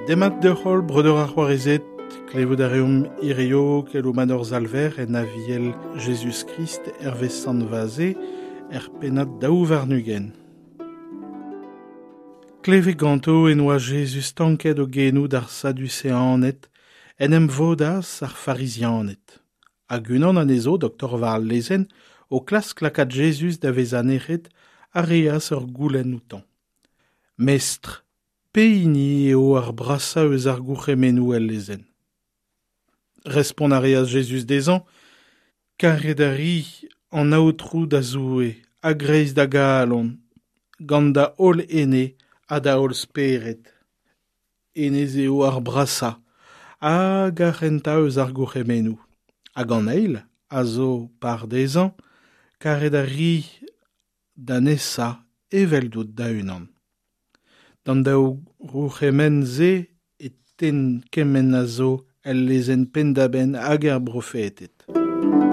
Demat deoc'h-holl, breudeur ha c'hoarezed, klevout a reomp hirio keloù mat hor Salver en Aviel Jezuz-Krist hervez Sant Vaze er pennad 22. Klevet ganto en oa Jezuz stanket o genoù d'ar Saduseaned, en em vodas ar Farizianed. Hag unan anezho, doktor war al lezenn, o klask lakaat Jezuz da vezañ nec'het, a reas ur goulenn outañ. Mestr, pehini eo ar brasañ eus ar gourc'hemennoù el lezenn? Respont a reas Jezuz dezhañ, Karet a ri an Aotrou da Zoue a-greiz da galon, gant da holl ene ha da holl spered. Hennezh eo ar brasañ hag ar c'hentañ eus ar gourc'hemennoù. Hag an eil a zo par dezhañ, karet a ri da nesañ eveldout da-unan. D'an daou gourc'hemenn-se e tenn kement a zo el lezenn penn-da-benn hag er brofeded.